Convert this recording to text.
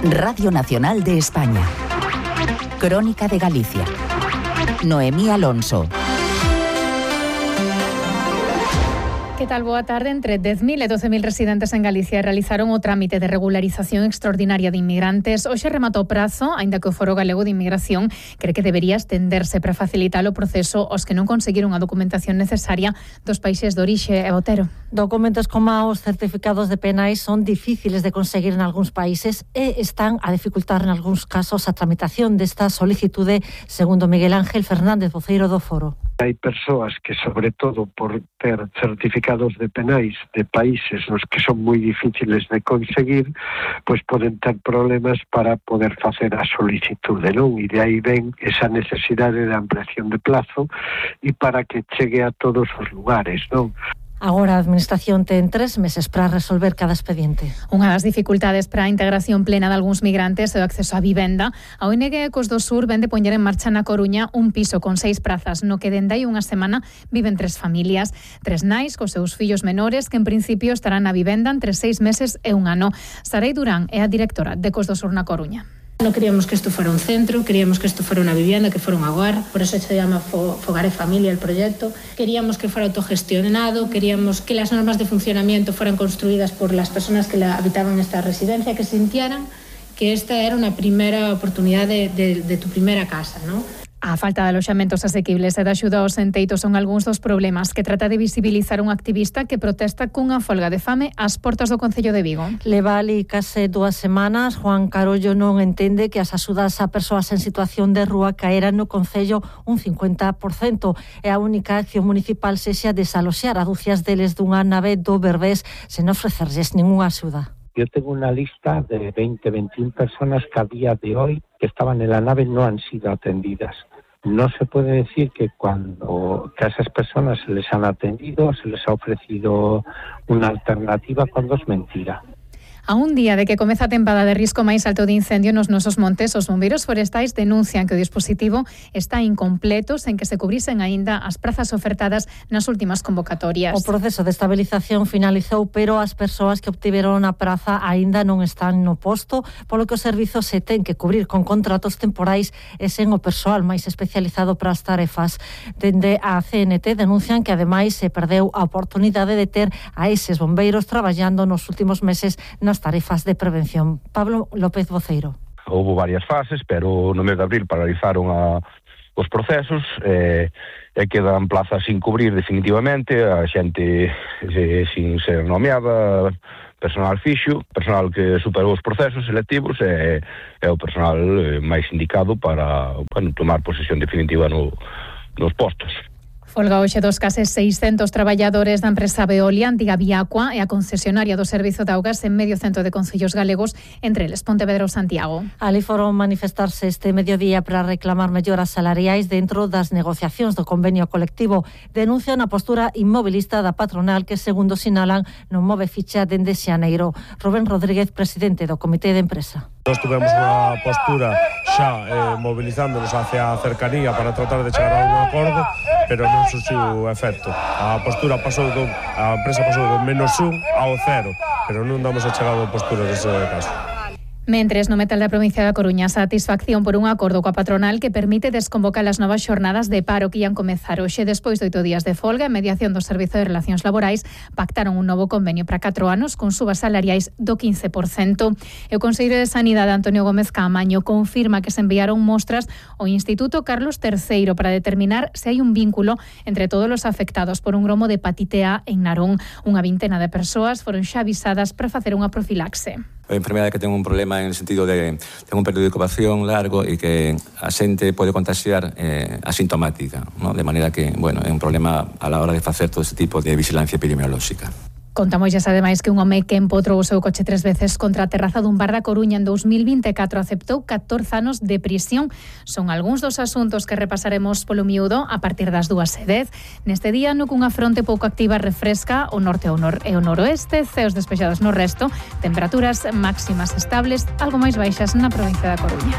Radio Nacional de España. Crónica de Galicia. Noemí Alonso. Que tal? Boa tarde. Entre 10.000 e 12.000 residentes en Galicia realizaron o trámite de regularización extraordinaria de inmigrantes. Hoxe rematou o prazo, aínda que o Foro Galego de Inmigración cree que debería estenderse para facilitar o proceso aos que non conseguiron a documentación necesaria dos países de orixe e Otero. Documentos como os certificados de penais son difíciles de conseguir en algúns países e están a dificultar en algúns casos a tramitación desta solicitude, segundo Miguel Ángel Fernández, voceiro do Foro. Hai persoas que, sobre todo por ter certificados de penais de países nos que son moi difíciles de conseguir, pois poden ter problemas para poder facer a solicitude, non? E de aí ven esa necesidade de ampliación de plazo e para que chegue a todos os lugares, non? Agora a Administración ten 3 meses para resolver cada expediente. Unha das dificultades para a integración plena de algúns migrantes é o acceso á vivenda. A ONG Ecos do Sur vende poñer en marcha na Coruña un piso con 6 prazas, no que dende hai unha semana viven 3 familias, 3 nais cos seus fillos menores que en principio estarán na vivenda entre 6 meses e un ano. Sarei Durán é a directora de Ecos do Sur na Coruña. No queríamos que esto fuera un centro, queríamos que esto fuera una vivienda, que fuera un hogar, por eso se llama Fogar e Familia el proyecto. Queríamos que fuera autogestionado, queríamos que las normas de funcionamiento fueran construidas por las personas que habitaban esta residencia, que sintieran que esta era una primera oportunidad de tu primera casa, ¿no? A falta de aloxamentos asequibles e de axuda aos enteitos son algúns dos problemas que trata de visibilizar un activista que protesta cunha folga de fame ás portas do Concello de Vigo. Leva ali case 2 semanas. Juan Carollo non entende que as axudas a persoas en situación de rúa caeran no Concello un 50% e a única acción municipal sexa desaloxar a dúcias deles dunha nave do Berbés sen ofrecerlles ninguna axuda. Yo tengo una lista de 20-21 personas que a día de hoy que estaban en la nave no han sido atendidas. No se puede decir que a esas personas se les han atendido, se les ha ofrecido una alternativa cuando es mentira. A un día de que comeza a tempada de risco máis alto de incendio nos nosos montes, os bombeiros forestais denuncian que o dispositivo está incompleto sen que se cubrisen aínda as prazas ofertadas nas últimas convocatorias. O proceso de estabilización finalizou, pero as persoas que obtiveron a praza aínda non están no posto, polo que o servizo se ten que cubrir con contratos temporais e sen o persoal máis especializado para as tarefas. Dende a CNT denuncian que ademais se perdeu a oportunidade de ter a eses bombeiros traballando nos últimos meses nas tarefas de prevención. Pablo López, voceiro. Houve varias fases, pero no mes de abril paralizaron os procesos e quedan plazas sin cubrir definitivamente, a xente sin ser nomeada, personal fixo, personal que superou os procesos selectivos e o personal máis indicado para tomar posesión definitiva nos postos. Folga hoxe dos case 600 traballadores da empresa Veolia, antiga Viacua e a concesionaria do Servizo de Augas en medio centro de concellos galegos, entre eles Pontevedra ou Santiago. Ali foron manifestarse este mediodía para reclamar melloras salariais dentro das negociacións do convenio colectivo. Denuncian a postura inmobilista da patronal que, segundo sinalan, non move ficha dende xaneiro. Rubén Rodríguez, presidente do Comité de Empresa. Nós tivemos unha postura xa mobilizándonos hacia a cercanía para tratar de chegar a un acordo, pero non surxiu efecto. A empresa pasou do -1 ao 0, pero non damos a chegado a postura dese caso. Mentres, no metal da provincia da Coruña, satisfacción por un acordo coa patronal que permite desconvocar as novas xornadas de paro que ian comezar hoxe despois de 8 días de folga e mediación do Servizo de Relacións Laborais. Pactaron un novo convenio para 4 anos con subas salariais do 15%. E o Conselleiro de Sanidade, Antonio Gómez Caamaño, confirma que se enviaron mostras ao Instituto Carlos III para determinar se hai un vínculo entre todos os afectados por un gromo de hepatite A en Narón. Unha vintena de persoas foron xa avisadas para facer unha profilaxe. A enfermedade que ten un problema en el sentido de ten un período de incubación largo e que a xente pode contagiar asintomática, ¿no? De maneira que, é un problema a la hora de facer todo este tipo de vigilancia epidemiolóxica. Contamolles ademais que un home que empotrou o seu coche 3 veces contra a terraza dun bar da Coruña en 2024 aceptou 14 anos de prisión. Son algúns dos asuntos que repasaremos polo miúdo a partir das 2:10. Neste día, no cunha fronte pouco activa refresca o norte e o noroeste, ceos despexados no resto, temperaturas máximas estables, algo máis baixas na provincia da Coruña.